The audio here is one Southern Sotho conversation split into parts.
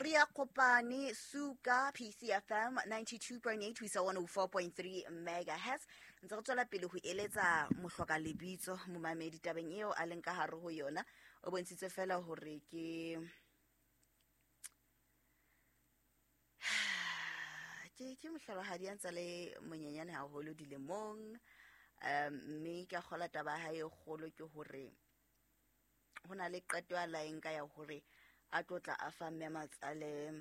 Re ya kopane suka PCFM 92.8 ho isa 104.3 megahertz. Ntse re tswela pele ho eletsa mohloka lebitso momamedi tabeng eo a leng ka hare ho yona. O bontshitse fela hore ke ke mohlolohadi a ntse le monyenyane haholo dilemong. Mme ke a kgola taba ya hae e kgolo ke hore ho na le qeto ya laeng ka ya hore a tlo tla a fa mme matsale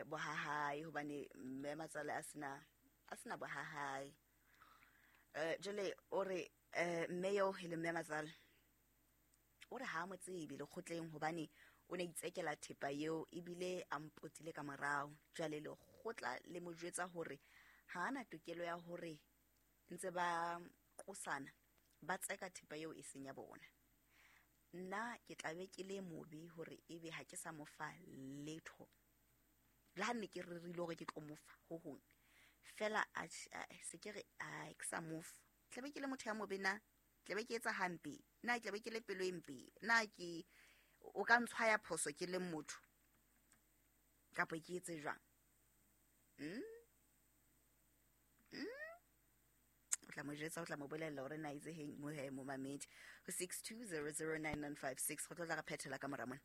bohahae, hobane mme matsale a sena bohahae. Jwale o re mme eo e le mme matsale o re ha mo tsebe lekgotleng hobane o ne itsekela thepa eo ebile a mpotile ka morao. Jwale lekgotla le mo jwetsa hore ha ana tokelo ya hore ntse ba qosana ba tseka thepa eo e seng ya bona. Nna ke tla be ke le mobe hore ebe ha ke sa mo fa letho, le ha nne ke rerile hore ke tlo mo fa ho hong fela, a se ke re a ke sa mo fa, tla be ke le motho ya mobe na, tla be ke etsa hampe na, tla be ke le pelo e mpe na, ke o ka ntshwaya phoso ke le motho kapa ke etse jwang? O tla mo jwetsa, o tla mo bolella hore na itse heng mo he momamedi ho 62009956. Go tlo tla re phethela ka mora mona.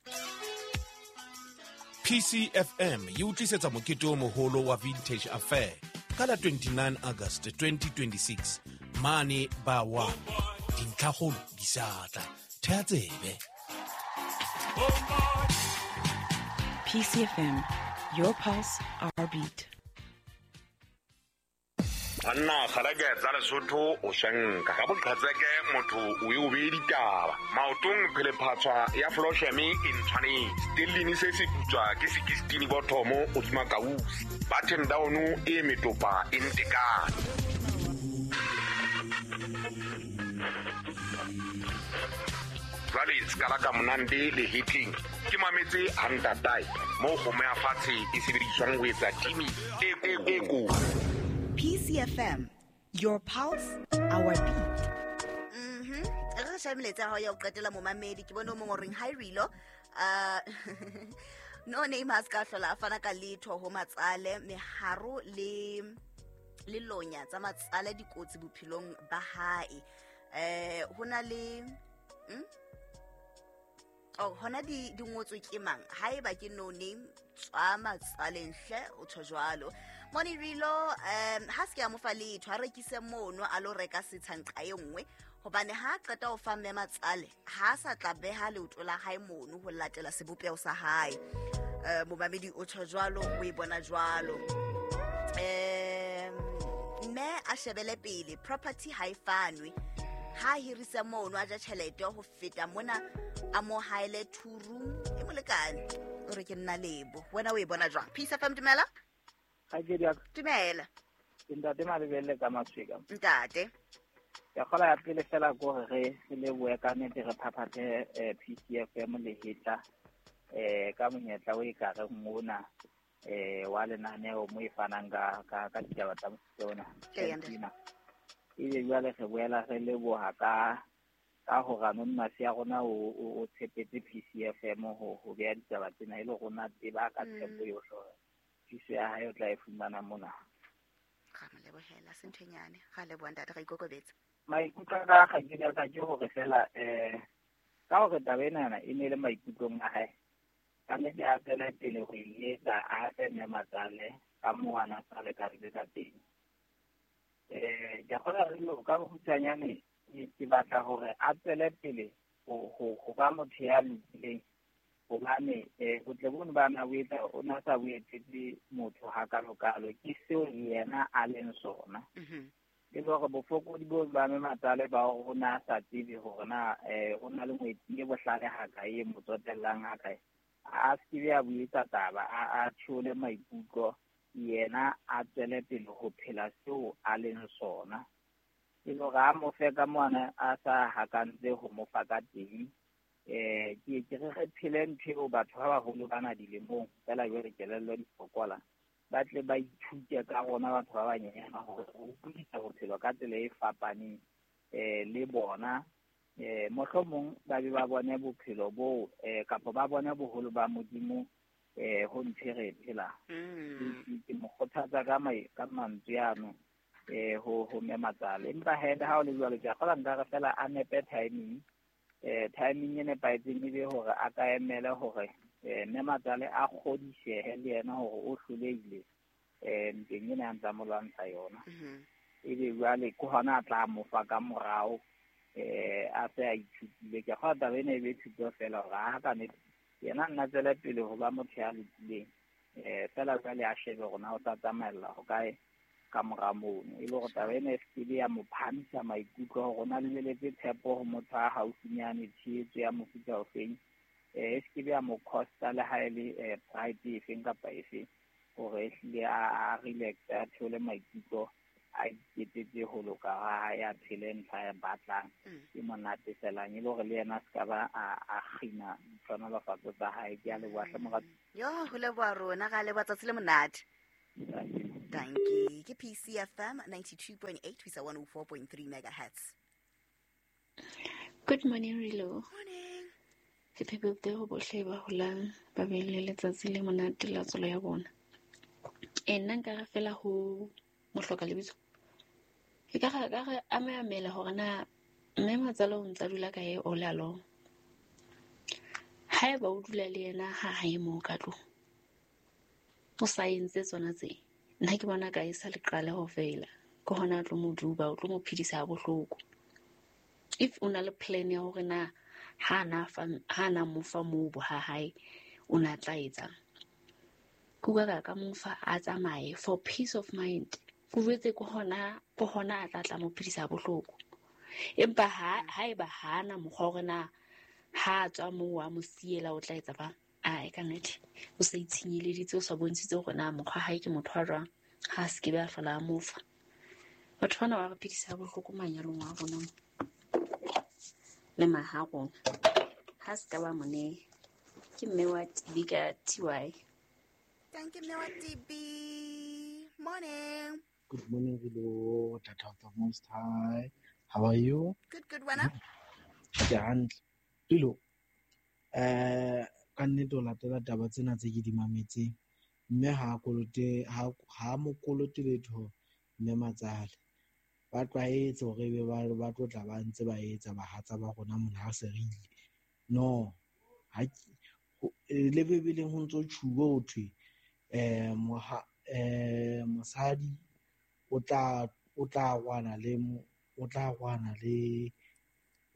PCFM e utlisetsa mokete o moholo wa Vintage Affair ka la 29 August 2026 mane ba wa dintlhakgolo di sa tla. Thea tsebe. PCFM, your pulse, our beat. Banna kgalake tsa Lesotho o shanka ka boqhetseke motho o e o bee ditaba maotong phelephatshwa ya flosheme e ntshwanetse stellini se se putswa ke 16 bothomo hodima kausi button down e metopa e ntekane. Jwale sekala ka monande le hitting ke mametse hantatae moo kgomo ya fatshe e sebediswang ho etsa timi e ko. PCFM, your pulse, our beat. Re shameletse ha ya o qetela momamedi ke bone o mong o reng hi Rilo. No name has ka hlola a fana ka letho ho matsale meharo le lonya tsa matsale dikotsi bophelong ba hae. Ho na le oh hona di ngotswe ke mang? Haeba ke no name tswa matsaleng hle o tjho jwalo. Moni Rilo, ha se ke a mo fa letho, a rekise mono a lo reka setshanqa e nngwe hobane ha qeta ho fa mme matsale ha sa tla beha leoto la hae mono ho latela sebopeho sa hae. Momamedi o tjho jwalo, o e bona jwalo. Mme a shebele pele property ha e fanwe, ha hirise mono a ja tjhelete ho feta mona a mo haele two room e molekane. O re ke nna lebo, wena o e bona jwang? Peace FM, dumela. Dumela. Ntate Malebelle ka Masweka. Ntate. Ke kgola ya pele fela ko re re lebohe ka nnete re phaphathe PCFM le hetla ka monyetla o e ka re mona wa lenaneo mo e fanang ka ditaba tsa mofuta ona. Ebe jwale re boela re leboha ka hore anonymous ya rona o tshepetse PCFM ho beha ditaba tsena e le rona tseba ka tshepo yohle hore thuso ya hae o tla e fumana mona. Ga mo lebohela se ntho e nyane. Ga leboha ntate, ga ikokobetsa. Maikutlo a ka ga ke ka ke hore fela ka hore taba ena e ne le maikutlong a hae, ka nnete a tswele pele ho e etsa, a fe mme matsale ka moo a na sa lekantse ka teng. Ke a kgolwa re lo ka bokgutshwanyane ke batla hore a tswele pele ho ba motho ya lokileng, hobane botle bono ba na bo etsa o na sa bo etsetse motho hakalokalo, ke seo yena a leng sona. E le hore bofokodi bo ba mme matsale ba hore o na sa tsebe hore na o na le ngwetsi e bohlale hakae, e mo tsotellang hakae, a se ke a bo etsa taba, a theole maikutlo, yena a tswele pele ho phela seo a leng sona. E le hore a mo fe ka mona a sa hakantse ho mo fa ka teng. Ke re phele ntho eo batho ba baholo ba na dilemong fela jwale kelello di fokola, ba tle ba ithute ka rona batho ba banyenyana hore ho utlwisisa bophelo ka tsela e fapaneng le bona. Mohlomong ba be ba bone bophelo boo kapa ba bone boholo ba Modimo Ho ntse re phela. Ke mo kgothatsa ka mantswe ano ho mme matsale. Empa he ha o le jwalo ke a kgola nka re fela a nepe timing. Timing e nepahetseng e be hore a ka emele hore mme matsale a kgodisehe le yena hore o hlolehile ntweng ena ya ntsa mo lwantsha yona. Ebe jwale ke hona a tla mo fa ka morao a se a ithutile. Ke kgola taba ena e be thuto fela hore ha ka nnete yena nna tswele pele ho ba motho ya lokileng fela jwale a shebe hore na o tla tsamaella ho kae ka mora mono. E le hore taba ena e se ke ya mo phamisa maikutlo hore o na lebeletse tshepo ho motho a haufinyane, tshehetso ya mofuta ofeng, e se ke ya mo costa le ha e le pride efeng kapa efeng, hore ehlile a relax, a theole maikutlo, a iketsetse ho loka ha hae, a phele ntlha ya batlang e monate felang, e le hore le yena a se ka ba a kgina ditlhohonolofatso tsa hae. Ke a leboha hle morati. Yo, ho leboha rona, ra leboha tsatsi le monate. Dankie. Ke PCFM 92.8 ho isa 104.3 megahertz. Good morning, Rilo. Morning. Happy birthday ho bohle ba holang ba be le letsatsi le monate la tswalo ya bona. Nna nka re fela ho mohloka lebitso. E ka re ameamela hore na mme matsale o ntsa dula kae all along. Haeba o dula le yena ha hae moo ka tlung, o sa entse tsona tse, nna ke bona ka e sa le qale ho fela. Ke hona o tlo mo duba, o tlo mo phedisa ha bohloko. If o na le plan ya hore na ha na mo fa moo bo ha hae, o na tla etsang? Ke utlwa ka mo fa a tsamaye for peace of mind. Ke jwetse ke hona a tla mo phedisa bohloko. Empa haeba ha na mokgwa hore na ha tswa moo a mo siela o tla etsa bang? Ae, ka nnete o sa itshenyeleditse, o sa bontshitse hore na mokgwa hae ke motho wa jwang, ha a se ke be a hlola a mo fa. Batho bana ba re phedisa bohloko manyalong a rona le maha rona. Ha se ka ba mo neha. Ke mme wa TB ka TY. Thank you, mme wa TB. Morning. Good morning, Rilo, Tata of the Most High. How are you? Good, good, wena. Ke hantle. Rilo, ka nnete o latela taba tsena tse ke di mametseng, mme ha kolote ha mo kolote letho mme matsale. Ba tlwaetse hore ebe ba tlo tla ba ntse ba etsa bahatsa ba rona mona ha se re ile. No, ha le Bibeleng ho ntso tjhuwe ho thwe mosadi o tla rwana le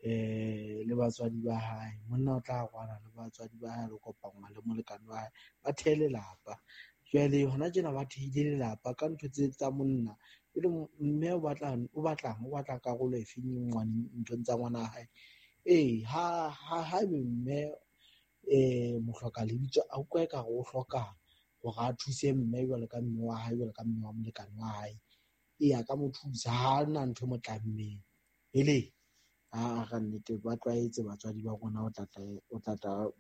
le batswadi ba hae, monna o tla rwana le batswadi ba hae, le kopangwa le molekane wa hae, ba thehe lelapa. Jwale hona tjena ba thehile lelapa ka ntho tse tsa monna. Jwale mme o batla karolo e feng ngwaneng nthong tsa ngwana hae? Ee, ha ebe mme mohloka lebitso a utlwa ekare o hloka hore a thuse mme jwalo ka mme wa hae, jwalo ka mme wa molekane wa hae. Ee, a ka mo thusa, ha na ntho e mo tlammeng. Ele a ka nnete ba tlwaetse batswadi ba rona o tla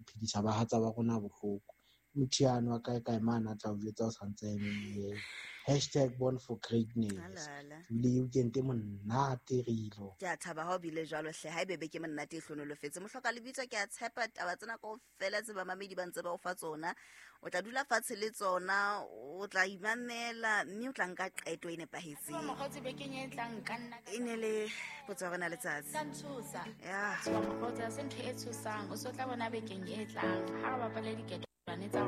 phedisa bahatsa ba rona bohloko. Motho yano a kae kae mane a tla o jwetsa o santse a eme. Hashtag born for greatness. Ebile weekend e monate Rilo. Ke a thaba ha o bile jwalo hle, ha ebe beke monate e hlonolofetse. Mohloka lebitso ke a tshepa taba tsena kaofela tse bamamedi ba ntse ba o fa tsona. O tla dula fatshe le tsona, o tla imamela mme o tla nka qeto e nepahetseng. Mokgotsi bekeng e tlang ka nna. E ne le potso ya rona letsatsi. Ka ntshosa. Ya. Mokgotsi ha se ntho e tshosang, o so tla bona bekeng e tlang ha re bapale diketo tsa